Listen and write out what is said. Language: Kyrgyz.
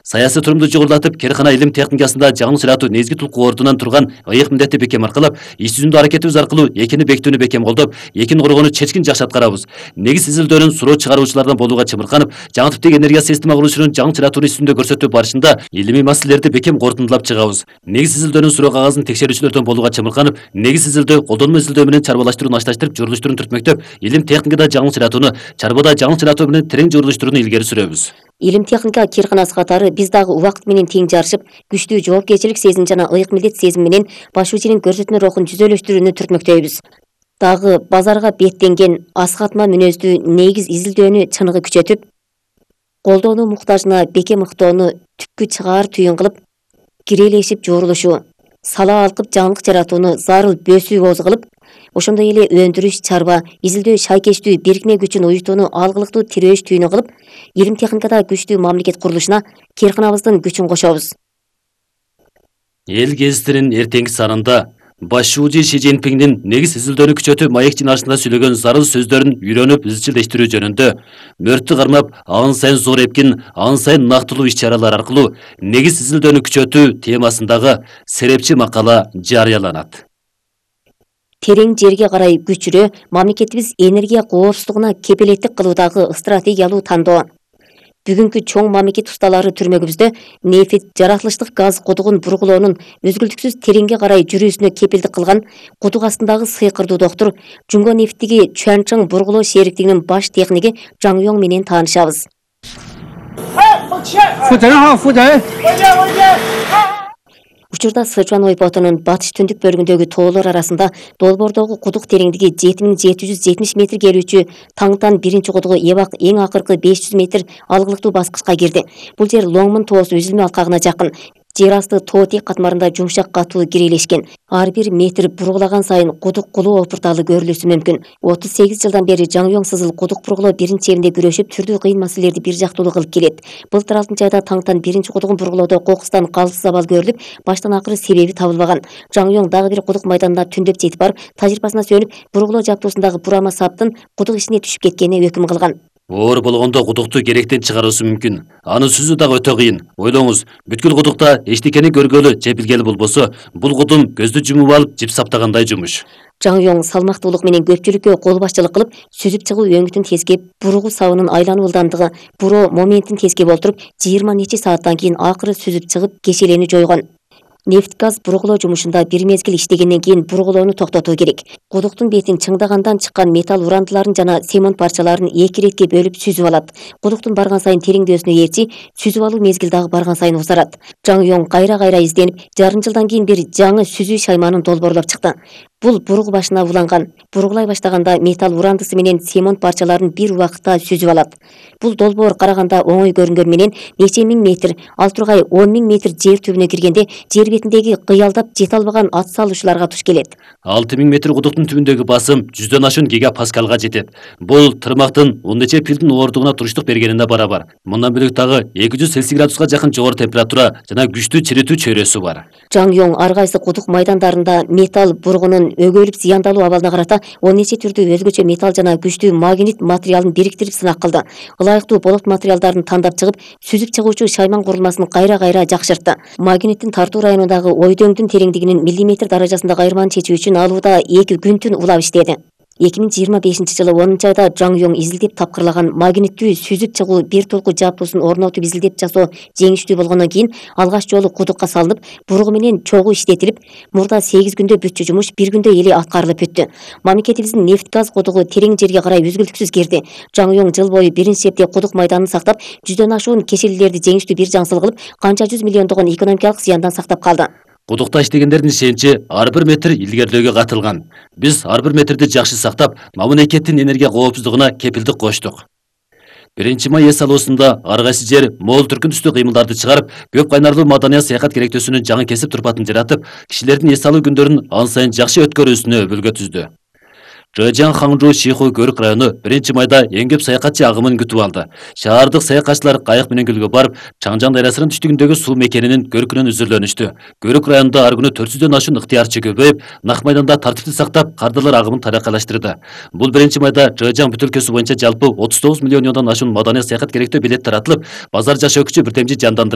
Саясий турумду жогорулатып, Керкана илим техникасында жаңы сыратуу негизги тулкуу ордунан турган ыйык милдетти бекем аркалап, иш жүзүндө аракетибиз аркылуу экини бекитүүнү бекем колдоп, экини коргоону чечкин жакшы аткарабыз. Негиз изилдөөнүн суроо чыгаруучулардан болууга чымырканып, жаңы типтеги энергия система курулушунун жаңы сыратууну иш жүзүндө көрсөтүү барышында илимий маселелерди бекем корутундулап чыгабыз. Негиз изилдөөнүн суроо кагазын текшерүүчүлөрдөн болууга чымырканып, негиз изилдөө, колдонмо изилдөө менен чарбалаштырууну ашташтырып, журулуштурууну түртмөктөп, илим техникада жаңы сыратууну, чарбада жаңы сыратуу менен терең журулуштурууну илгери сүрөбүз. Илим техника кирканасы катары биз дагы убакыт менен тең жарышып, күчтүү жоопкерчилик сезим жана ыйык милдет сезими менен башуучунун көрсөтмө рухун жүзөлөштүрүүнү түртмөктөйбүз. Дагы базарга беттенген асхатма мүнөздүү негиз изилдөөнү чыныгы күчөтүп, колдоону муктажына бекем ыктоону түпкү чыгаар түйүн кылып, кирелешип жорулушу, сала алкып жаңылык жаратууну зарыл бөөсүү кооз кылып, ошондой эле өндүрүш, чарба, изилдөө шайкечтүү бирикме күчүн уюштууну алгылыктуу тирөөш түйүнү кылып, илим техникада күчтүү мамлекет курулушуна Керканабыздын күчүн кошобуз. Эл гезитинин эртеңки санында башчуу Ши Цзиньпиңдин негиз изилдөөнү күчөтүү маек жыйналышында сүйлөгөн зарыл сөздөрүн үйрөнүп изчилдештирүү жөнүндө мөрттү кармап, ан сайын зор эпкин, ан сайын нактылуу иш-чаралар аркылуу негиз изилдөөнү күчөтүү темасындагы серепчи макала жарыяланат. Терең жерге карай күчүрө мамлекетибиз энергия коопсуздугуна кепилеттик кылуудагы стратегиялуу тандоо. Бүгүнкү чоң мамлекет усталары түрмөгүбүздө нефть, жаратылыштык газ кудугун бургулоонун өзгүлтүксүз тереңге карай жүрүүсүнө кепилдик кылган кудук астындагы сыйкырдуу доктур Жунго нефтиги Чуанчжоң бургулоо шериктигинин баш техниги Жаң Йоң менен таанышабыз. Учурда Сычуан ойпотунун батыш түндүк бөлүгүндөгү тоолор арасында долбоордогу кудук тереңдиги 7770 метр келүүчү Таңтан биринчи кудугу эбак эң акыркы 500 метр алгылыктуу баскычка кирди. Бул жер Лоңмун тоосу үзүлмө алкагына жакын. Жер асты тоо тек катмарында жумшак катуу кирелешкен. Ар бир метр бургулаган сайын кудук кулуу опурталы көрүлүшү мүмкүн. 38 жылдан бери Жаң Йоң сызыл кудук бургулоо биринчи күрөшүп, түрдүү кыйын маселелерди бир жактуулуу кылып келет. Былтыр 6 айда Таңтан биринчи кудугун бургулоодо кокустан калыс абал көрүлүп, баштан акыры себеби табылбаган. Жаң Йоң дагы бир кудук майданына түндөп жетип барып, тажрыйбасына сүйөнүп, бургулоо жаптуусундагы бурама саптын кудук ичине түшүп кеткенине өкүм кылган. Оор болгондо кудукту керектен чыгаруусу мүмкүн. Аны сүзүү дагы өтө кыйын. Ойлоңуз, бүткүл кудукта эчтекени көргөлү же билгели болбосо, бул кудум көздү жумуп алып, жип саптагандай жумуш. Жаң Йоң салмактуулук менен көпчүлүккө кол башчылык кылып, сүзүп чыгуу өңүтүн тескеп, бургу сабынын айлануу ылдамдыгы, буроо моментин тескеп олтуруп, 20 нече сааттан кийин акыры сүзүп чыгып, кешелени жойгон. Нефть газ бургулоо жумушунда бир мезгил иштегенден кийин бургулоону токтотуу керек. Кудуктун бетин чыңдагандан чыккан металл урандыларын жана цемент парчаларын эки иретке бөлүп сүзүп алат. Кудуктун барган сайын тереңдөөсүнө ээрчи, сүзүп алуу мезгил дагы барган сайын узарат. Жаң Йоң кайра изденип, жарым жылдан кийин бир жаңы сүзүү шайманын долбоорлоп чыкты. Бул бургу башына уланган. Бургулай баштаганда металл урандысы менен цемент парчаларын бир убакытта сүзүп алат. Бул долбоор караганда оңой көрүнгөн менен нече миң метр, ал тургай 10 000 метр жер түбүнө киргенде жер бетиндеги кыялдап жете албаган ат салуучуларга туш келет. 6000 метр кудуктун түбүндөгү басым 100дөн ашуун гигапаскалга жетет. Бул тырмактын 10 нече пилдин оордугуна туруштук бергенине барабар. Мындан бөлөк дагы 200 Цельсий градуска жакын жогору температура жана күчтүү чиритүү чөйрөсү бар. Жаң Йоң ар кайсы кудук майдандарында металл бургунун өгөлүп зыяндалуу абалына карата 10 нече түрдүү өзгөчө металл жана күчтүү магнит материалын бириктирип сынак кылды. Ылайыктуу болот материалдарын тандап чыгып, сүзүп чыгуучу шайман курулмасын кайра жакшыртты. Магниттин тартуу районундагы ойдөңдүн тереңдигинин миллиметр даражасындагы айырманы чечүү үчүн алууда 2 күн-түн улап иштеди. 2025 жылы 10 айда Жаң Йоң изилдеп тапкырлаган магниттүү сүзүп чыгуу бир толку жаптуусун орнотуп изилдеп жасоо жеңиштүү болгондон кийин алгач жолу кудукка салынып, бургу менен чогуу иштетилип, мурда 8 күндө бүтчү жумуш 1 күндө эле аткарылып бүттү. Мамлекетибиздин нефть газ кудугу терең жерге карай үзгүлтүксүз кирди. Жаң Йоң жыл бою биринчи септе кудук майданын сактап, 100дөн ашуун кешелилерди жеңиштүү бир жаңсыл кылып, канча 100 миллиондогон экономикалык зыяндан сактап калды. Кудукта иштегендердин ишеничи ар бир метр илгерилөөгө катылган. Биз ар бир метрди жакшы сактап, мамлекеттин энергия коопсуздугуна кепилдик коштук. 1-май эс алуусунда ар кайсы жер мол түркүн түстүү кыймылдарды чыгарып, көп кайнарлуу маданий саякат керектөөсүнүн жаңы кесип турпатын жаратып, кишилердин эс алуу күндөрүн ан сайын жакшы өткөрүүсүнө өбөлгө түздү. Жэжян Хаңжу Шиху Көрүк району 1-майда эң көп саякатчы агымын күтүп алды. Шаардык саякатчылар кайык менен көлгө барып, Чаңжан дайрасынын түштүгүндөгү суу мекенинин көркүнөн үзүрлөнүштү. Көрүк районунда ар күнү 400дөн ашуун ыктыярчы көбөйүп, Нак майданда тартипти сактап, кардылар агымын таракайлаштырды. Бул 1-майда Жэжян бүтөлкөсү боюнча жалпы 39 миллион юандан ашуун маданий саякат керектөө билет таратылып, базар жашоо күчү бирдемчи жандандырылды.